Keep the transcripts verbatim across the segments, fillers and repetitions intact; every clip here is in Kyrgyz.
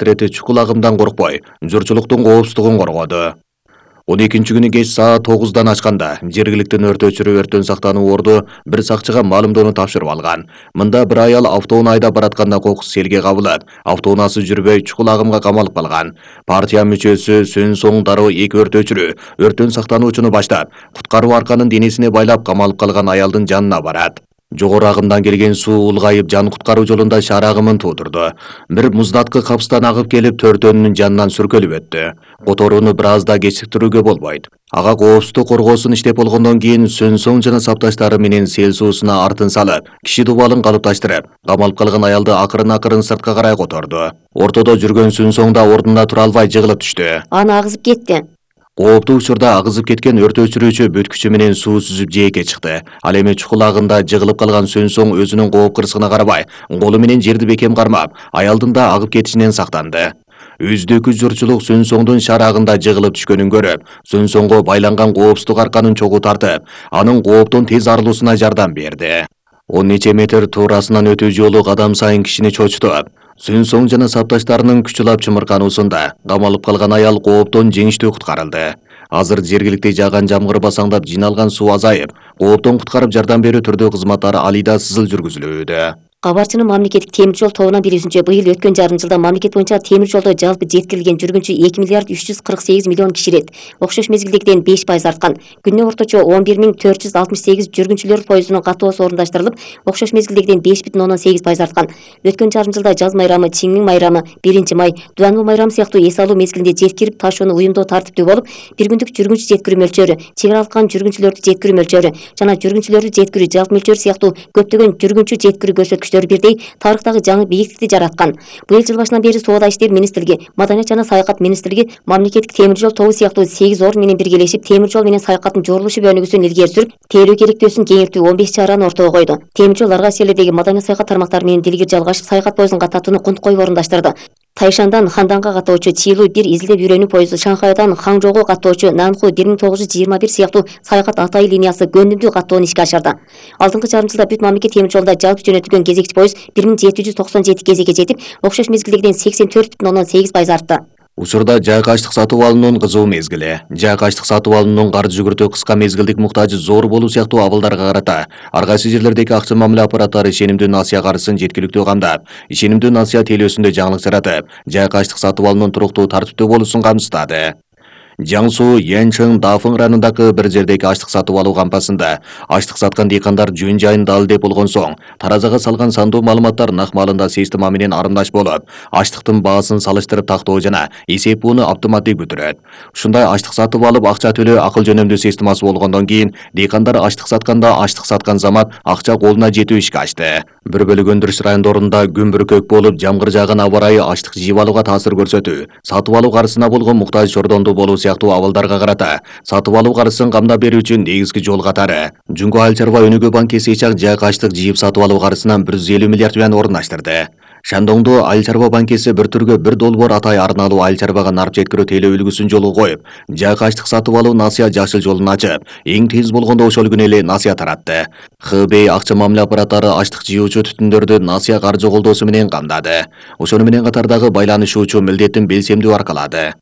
Трети чукул агымдан коркпой, журчулуктун коопсуздугун коргоду. он экинчи күнү кеч саат тогуздан ачканда жергиликтүү өрт өчүрүү өрттөн сактануу орду бир сакчыга маалымдоону тапшырып алган. Мында бир аял автоунаа айдап баратканда кокус селге кабылып, автоунаасы жүрбөй чукул агымга камалып калган. Партия мүчөсү сөөн соң дароо эки өрт өчүрүү өрттөн сактануучуну баштап, куткаруу арканын денесине байлап камалып калган аялдын жанына барат. Жогору агымдан келген суу улгайып жан куткаруу жолунда шаар агымын туудурду. Бир муздаткы капыстан агып келип төртөөнүнүн жанынан сүркөлүп өттү. Которууну бир аз да кечиктирүүгө болбойт. Ага коопсуздук коргоосун иштеп болгондон кийин Сөнсоң жана сапташтары менен сел суусуна артын салып, киши дубалын калыпташтырып, камалып калган аялды акырын-акырын сыртка карай которду. Ортодо жүргөн Сөнсоң да ордунда тура албай жыгылып түштү. Аны агызып кетти. Кооптуу учурда агызып кеткен өрт өчүрүүчү бүткүчү менен суу сүзүп жээкке чыкты. Ал эми чукул агында жыгылып калган Сөнсоң өзүнүн кооп кырсыгына карабай, колу менен жерди бекем кармап, аялдын да агып кетишинен сактанды. Үздүкү журчулук Сөнсоңдун шаар агында жыгылып түшкөнүн көрүп, Сөнсоңго байланган коопсуздук арканын чогуу тартып, анын кооптон тез арылуусуна жардам берди. он нече метр туурасынан өтүү жолу кадам сайын кишини чочутуп, Сөнсоң жана сапташтарынын күчүлап чымыркануусунда камалып калган аял кооптон жеңиштүү куткарылды. Азыр жергиликти жааган жамгыр басаңдап жиналган суу азайып, кооптон куткарып жардам берүү түрдүү кызматтар алыйда сызыл жүргүзүлүүдө. Кабарчынын мамлекеттик темир жол тобунан билүүсүнчө, быйыл өткөн жарым жылда мамлекет боюнча темир жолдо жалпы жеткирилген жүргүнчү эки миллиард үч жүз кырк сегиз миллион киши ирет. Окшош мезгилдегиден беш пайыз арткан. Күнүнө орточо он бир миң төрт жүз алтымыш сегиз жүргүнчүлөр поездунун каттоосу орундаштырылып, окшош мезгилдегиден беш бүтүн ондон сегиз пайыз арткан. Өткөн жарым жылда жаз майрамы, Чиңмиң майрамы, биринчи май, Дубанбул майрамы сыяктуу эс алуу мезгилинде жеткирип ташууну уюмдоо тартиптүү болуп, бир күндүк жүргүнчү жеткирүү мөлчөрү, чек ара алган жүргүнчүлөрдү жеткирүү мөлчөрү жана жүргүнчүлөрдү жеткирүү жалпы мөлчөрү сыяктуу көптөгөн жүргүнчү жеткирүү көрсөткүчтөрү бирдей тарыхтагы жаңы бийиктикти жараткан. Быйыл жыл башынан бери Соода иштер министрлиги, Маданият жана саякат министрлиги мамлекеттик темир жол тобу сыяктуу сегиз орун менен биргелешип, темир жол менен саякаттын жорулушу өнүгүүсүн илгери сүрүп, тейлөө керектөөсүн кеңейтүү он беш чараны ортого койду. Темир жол ар кайсы жерлердеги маданий саякат тармактары менен дилгир жалгашып, саякат поездун каттатууну кунт коюп орундаштырды. Тайшандан Ханданга каттоочу Чилу бир изилдеп үйрөнүү поезду, Шанхайдан Хаңжоого каттоочу Нанху бир миң тогуз жүз жыйырма бир сыяктуу саякат Атай линиясы көндүмдүү каттоону ишке ашырды. Алдыңкы жарым жылда бүт мамлекет темир жолунда жалпы жөнөтүлгөн кезекчи поезд бир миң жети жүз токсон жети кезекке жетип, окшош мезгилдегиден сексен төрт бүтүн ондон сегиз пайыз артты. Учурда жайкы аштык сатып алуунун кызуу мезгили. Жайкы аштык сатып алуунун каржы жүгүртүү кыска мезгилдик муктажы зор болуу сыяктуу абалдарга карата ар кайсы жерлердеги акча мамиле аппараттары ишенимдүү насыя каржысын жеткиликтүү камдап, ишенимдүү насыя тейлөөсүндө жаңылык жаратып, жайкы аштык сатып алуунун туруктуу тартиптүү болуусун камсыздады. Жаңсу, Янчың, Дафың районундагы бир жердеги аштык сатып алуу кампасында аштык саткан дейкандар жөн жайын далилдеп болгон соң, таразага салган сандуу маалыматтар нак маалында система менен арымдаш болуп, аштыктын баасын салыштырып тактоо жана эсеп бууну автоматтик бүтүрөт. Ушундай аштык сатып алып акча төлөө акыл жөнөмдүү системасы болгондон кийин дейкандар аштык сатканда аштык саткан замат акча колуна жетүү ишке ашты. Бир бөлүк өндүрүш райондорунда күн бүркөк болуп, жамгыр жааган аба ырайы аштык жыйып алууга таасир көрсөтүү, сатып алуу каржысына болгон муктаж чордондуу болуу сыяктуу абалдарга карата сатып алуу каржысын камдап берүү үчүн негизги жол катары Жунго Айыл чарба өнүгүү банки сейчак жайкы аштык жыйып сатып алуу каржысынан бир жүз элүү миллиард юан орундаштырды. Шандоңдо Айыл чарба банкиси бир түргө бир долбоор Атай арналуу айыл чарбага нарп жеткирүү тейлөө үлгүсүн жолго коюп, жайкы аштык сатып алуу насыя жашыл жолун ачып, эң тез болгондо ошол күнү эле насыя таратты. Х Б акча мамиле аппараттары аштык жыюучу түтүндөрдү насыя каржы колдоосу менен камдады. Ошону менен катардагы байланышуучу милдеттин белсемдүү аркалады.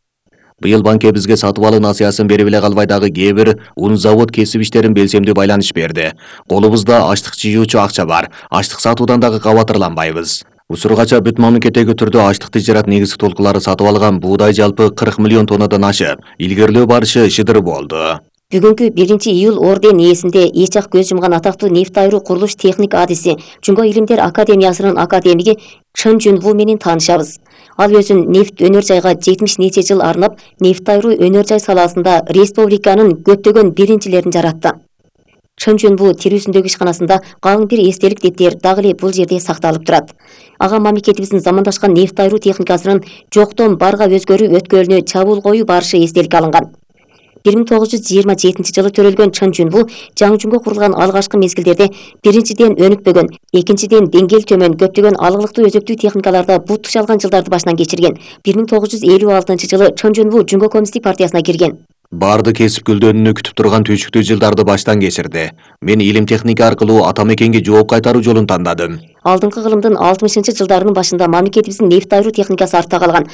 Быйыл банке бизге сатып алуу насыясын берип эле калбай дагы кээ бир ун завод кесип иштерин белсемдүү байланыш берди. Колубузда аштык жыюучу акча бар, аштык сатуудан дагы кабатырланбайбыз. Учургача бүт мамлекеттеги түрдө аштыкты жарат негизги толкулары сатып алган буудай жалпы кырк миллион тоннадан ашып, илгерилөө барышы шыдыр болду. Бүгүнкү биринчи июль орден ээсинде эч ак көз жумган атактуу нефть айыруу курулуш техник адиси Жунго илимдер академиясынын академиги Чын Жунву менен таанышабыз. Ал өзүн нефть өнөр жайга жетимиш нече жыл арнап, нефть айыруу өнөр жай саласында республиканын көптөгөн биринчилерин жаратты. Чын Жунву тирүүсүндөгү ишканасында калың бир эстелик деттер дагы эле бул жерде сакталып турат. Ага мамлекетибиздин замандашкан нефть айыруу техникасынын жоктон барга өзгөрүү өткөлүнө чабуул коюу барышы эстеликке алынган. бир миң тогуз жүз жыйырма жетинчи жылы төрөлгөн Чын Жунву жаңы курулган алгачкы мезгилдерде биринчиден өнүкпөгөн, экинчиден деңгээл төмөн көптөгөн алгылыктуу өзөктүү техникаларда бут тушалган жылдарды башынан кечирген. бир миң тогуз жүз элүү алтынчы жылы Чын Жунву Жунго коммунисттик партиясына кирген. Барды кесип гүлдөнүүнү күтүп турган түйчүктүү жылдарды баштан кечирди. Мен илим техника аркылуу ата мекенге жооп кайтаруу жолун тандадым. Алдыңкы кылымдын алтымышынчы жылдарынын башында мамлекетибиздин нефть айыруу техникасы артта калган.